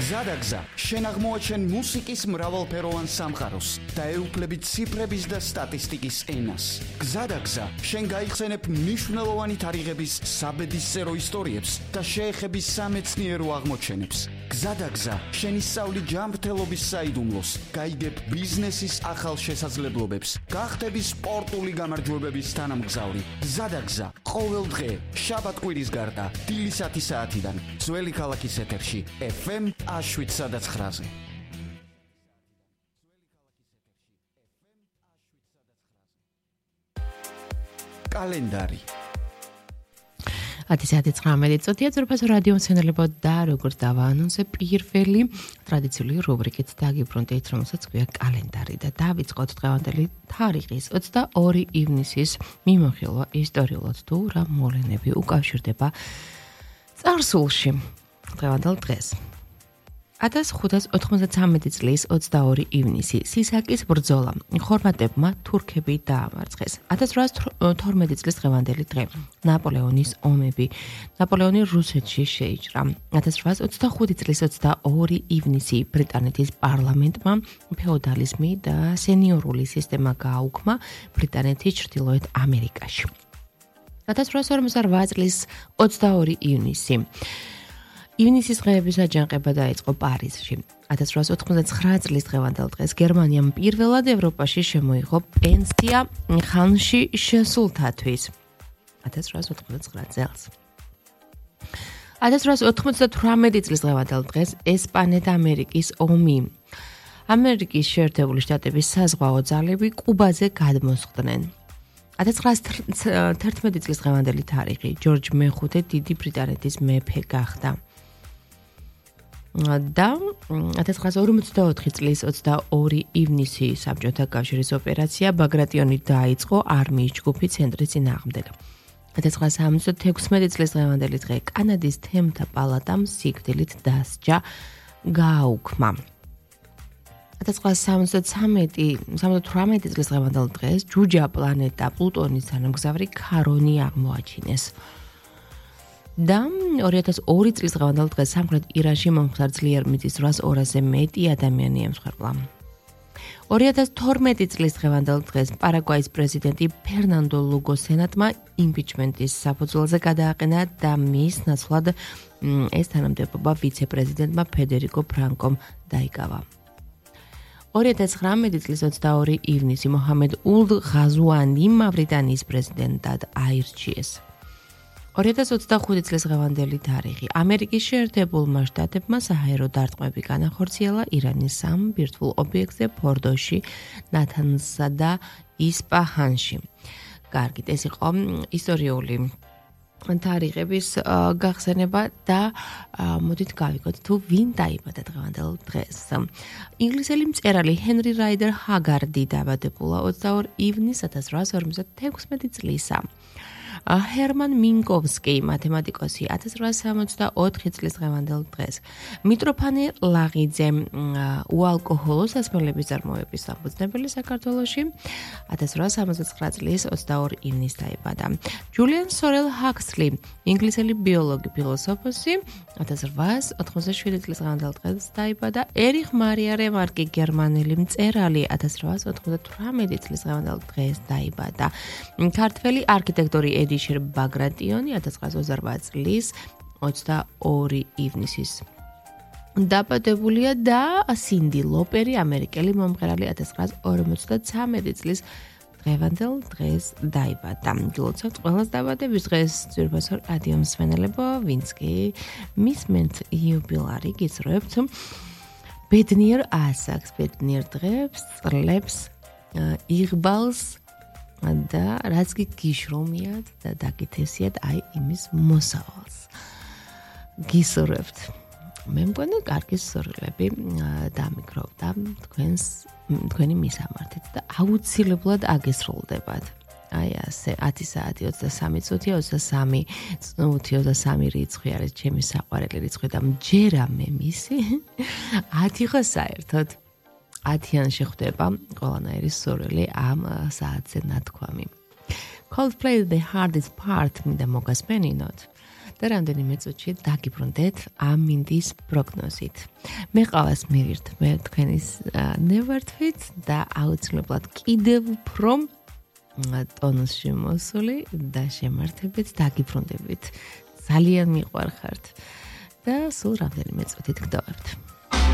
გზადაგზა შენ აღმოაჩენ მუსიკის მრავალფეროვან სამყაროს და ეუფლებით ციფრების და სტატისტიკის ენას. გზადაგზა შენ გაიხსენებ მნიშვნელოვანი თარიღების საბედისწერო ისტორიებს და შეეხების სამეცნიერო აღმოჩენებს. გზადაგზა შენ ისწავლი ჯანმრთელობის საიდუმლოს, გაიგებ ბიზნესის ახალ შესაძლებლობებს, გახდები სპორტული გამარჯვებების თანამგზავრი. გზადაგზა ყოველ დღე შაბათ-კვირის გარდა დილის 10 საათიდან ძველი ქალაქის ეთერში FM 7-9-ზე. კალენდარი 10:19 წუთია ძრფას რადიო მცენელებო და როგორც დავაანონსე პირველი ტრადიციული რუბრიკით დაგიბრუნდით, რომელსაც ქვია კალენდარი და დავიწყოთ დღევანდელი თარიღის 22 ივნისის მიმოხილვა ისტორიულად თუ რა მოვლენები უკავშირდება წარსულში დღევანდელ დღეს. 1593 წლის 22 ივნისი სისაკის ბრძოლა ხორვატებმა თურქები დაამარცხეს. 1812 წლის დღევანდელი დღე ნაპოლეონის ომები ნაპოლეონი რუსეთში შეიჭრა. 1825 წლის 22 ივნისი ბრიტანეთის პარლამენტმა ფეოდალიზმი და სენიორული სისტემა გააუქმა ბრიტანეთის ჩრდილოეთ ამერიკაში. 1848 წლის 22 ივნისი ივნისის დღეების აჯანყება დაიწყო პარიზში. 1889 წლის დღევანდელ დღეს გერმანიამ პირველად ევროპაში შემოიღო პენსია ხანში შესულთათვის. 1889 წელს. 1898 წლის დღევანდელ დღეს ესპანეთ-ამერიკის ომი. ამერიკის შეერთებული შტატების საზღვაო ძალები კუბაზე გადმოსხდნენ. 1911 წლის დღევანდელი თარიღი ჯორჯ მეხუთე დიდი ბრიტანეთის მეფე გახდა. და 1954 წლის 22 ივნისი საბჭოთა კავშირის ოპერაცია ბაგრატიონი დაიწყო არმიის ჯგუფი ცენტრის წინააღმდეგ. 1976 წლის დღევანდელი დღე კანადის თემთა პალატამ სიკვდილით დასჯა გააუქმა. 1978 წლის დღევანდელ დღეს ჯუჯა პლანეტა პლუტონის თანამგზავრი ქარონი აღმოაჩინეს. და 2002 წლის დღევანდელ დღეს სამხრეთ ირანში მომხდარ ძლიერ მიწისძვრას 200-ზე მეტი ადამიანი ემსხვერპლა. 2012 წლის დღევანდელ დღეს პარაგვაის პრეზიდენტი ფერნანდო ლუგო სენატმა იმპიჩმენტის საფუძველზე გადააყენა და მის ნაცვლად ეს თანამდებობა ვიცე-პრეზიდენტმა ფედერიკო ფრანკომ დაიკავა. 2019 წლის 22 ივნისი მოჰამედ ულდ ღაზუანი მავრიტანიის პრეზიდენტად აირჩიეს. 2025 წლის დღევანდელი თარიღი ამერიკის შეერთებულმა შტატებმა საჰაერო დარტყმები განახორციელა ირანის სამ ბირთვულ ობიექტზე ფორდოში, ნათანზსა და ისპაჰანში. კარგით, ეს იყო ისტორიული თარიღების გახსენება და მოდით გავიგოთ თუ ვინ დაიბადა დღევანდელ დღეს. ინგლისელი მწერალი ჰენრი რაიდერ ჰაგარდი დაბადებულა 22 ივნისს 1856 წლისა. ჰერმან მინკოვსკი, მათემატიკოსი, 1864 წლის დღევანდელ დღეს. მიტროფანე ლაღიძე, უალკოჰოლო სასმელების წარმოების საფუძნებელი საქართველოში, 1869 წლის 22 ივნისს დაიბადა. ჯულიან სორელ ჰაქსლი, ინგლისელი ბიოლოგი, ფილოსოფოსი, 1887 წლის დღევანდელ დღეს დაიბადა. ერიხ მარია რემარკი, გერმანელი მწერალი, 1898 წლის დღევანდელ დღეს დაიბადა. ქართველი არქიტექტორი ედიშერ ბაგრატიონი 1928 წლის 22 ივნისის დაბადებულია და სინდი ლოპერი, ამერიკელი მომღერალი 1953 წლის დღევანდელ დღეს დაიბადა. გილოცავთ ყველას დაბადების დღეს, ძვირფასო რადიო მსმენელებო, ვინც კი მისმენთ იუბილარი, გისურვებთ ბედნიერ ასაკს, ბედნიერ დღეს, წლებს, იღბალს და რაც კი გიშრომიათ და დაგითესიათ აი იმის მოსავალს. გისურვებთ. მე მგონი კარგი სურვილები დამიკროვდა თქვენი მისამართით და აუცილებლად აგესრულდებათ. აი ასე 10 საათი 23 წუთი 23 წუთი 23 რიცხვი არის ჩემი საყვარელი რიცხვი და მჯერა მე მისი 10 ხო საერთოდ 10-იან შეხვდება ყველანაირი სურვილი ამ საათზე ნათქვამი. Coldplay The Hardest Part მინდა მოგასმენინოთ და რამდენიმე წუთში დაგიბრუნდეთ ამინდის პროგნოზით. მე ყავს მივირთ მე თქვენის ნევართვით და აუცილებლად კიდევ უფრო ტონუსში მოსული და შემართებით დაგიბრუნდებით. ძალიან მიყვარხართ და სულ რამდენიმე წუთით გდოვებთ.